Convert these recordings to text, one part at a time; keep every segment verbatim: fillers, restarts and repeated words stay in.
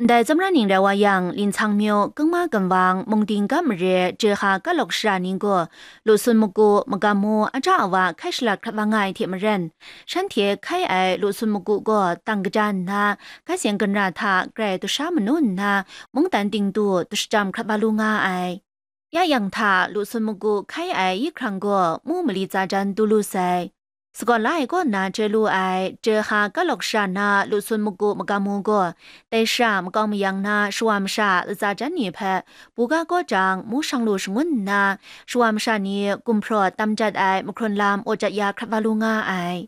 Ndai tsawmra ning rai wa yang, Linchang myu, Kungma Gunwang, Mungding Gam mare, Jehka Kalok shara ni gaw, Lusun Magu, Magam Mu, Aja Awa hkai shalat hkrat wa nga ai hte maren, shanhte hkai ai Lusun Magu gaw tang kaja nna, hkai seng ginra hta grai dusha manu nna, mungdan ting du dusha jam hkrat wa lu nga ai. Ya yang hta Lusun Magu hkai ai yi hkrang gaw mu mali tsa jan du lu sai. Sagawn la ai kaw nna chye lu ai, Jehka Kalok shara na Lusun Magu Magam Mu gaw, dai shara makau mayang na shawa masha latsa jan ni hpe buga kaw jang mu shang lu shangun nna, shawa masha ni gumhpraw tam jat ai mahkrun lam aw jat ya hkrat wa lu nga ai.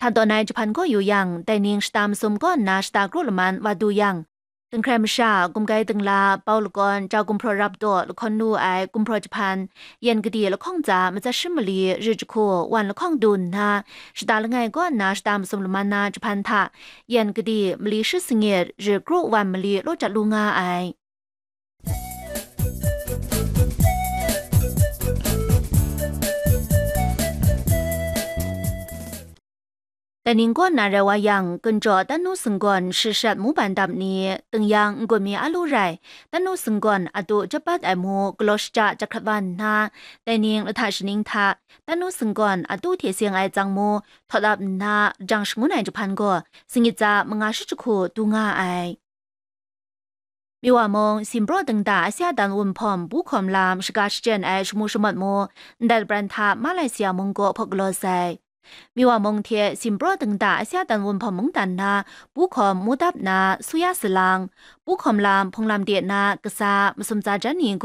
Hta tawn ai jahpan gaw yu yang, dai ning shata masum kaw nna shata kru laman wa du yang, Dinghkrai masha, gumgai dingla, bau lakawn, jau gumhpraw rap daw lahkawn lu ai gumhpraw jahpan, yan kadi lahkawng tsa matsat shi mali rit jahku wan lahkawng du nna, shata langai kaw nna shata masum laman na jahpan hta, yan kadi mali shi sangit rit kru wan mali law jat lu nga ai. Dai ning kaw nna rai wa yang, Gunjaw Tanu Singgawn shashat mu ban dap ni, Tingyang N-gun mi a lu rai, Tanu Singgawn a tu jabat ai mu galaw shaja jahkrat wa nna, dai ning lahta shaning hta, Tanu Singgawn a tu hte seng ai tsang mu htawt ap nna, jang shangun ai jahpan gaw, singit tsa manga shi jahku du nga ai. Miwa mung, Simpraw dingda Asia dan wunhpawm pu hkawm lam shaga shachyen ai shamu shamawt mu, ndai labran hta Malai Sia mung gaw hpaw galaw sai. Miwa mung hte Simpraw dingda Asia dan wunhpawm mungdan na pu hkawm mu dap na Suya Salang, pu hkawm lam hpung lam de na kasa masum tsa jan ni gaw,